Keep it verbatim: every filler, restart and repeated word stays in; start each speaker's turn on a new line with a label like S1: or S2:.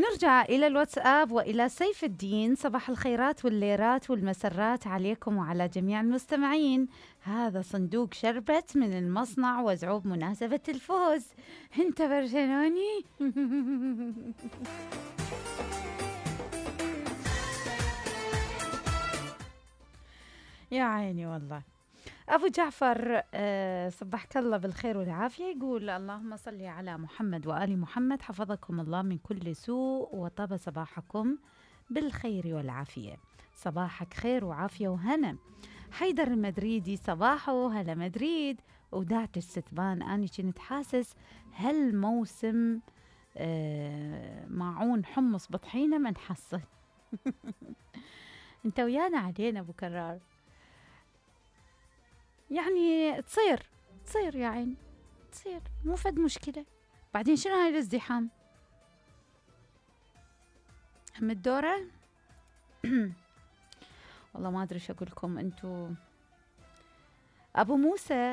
S1: نرجع إلى الواتساب وإلى سيف الدين. صباح الخيرات والليرات والمسرات عليكم وعلى جميع المستمعين. هذا صندوق شربت من المصنع وزعوه بمناسبة الفوز. انت برشلوني؟ يا عيني والله. أبو جعفر أه صبحك الله بالخير والعافية. يقول اللهم صل على محمد وآل محمد، حفظكم الله من كل سوء وطاب صباحكم بالخير والعافية. صباحك خير وعافية وهنا. حيدر المدريدي صباحه هلا مدريد. ودعت الستبان أني كنت حاسس هالموسم أه معون حمص بطحينة ما نحصل. انت ويانا علينا أبو كرار، يعني تصير تصير يا عين تصير، مو فد مشكلة. بعدين شنو هاي الازدحام؟ هم الدورة. والله ما أدري شو أقول لكم. أنتو أبو موسى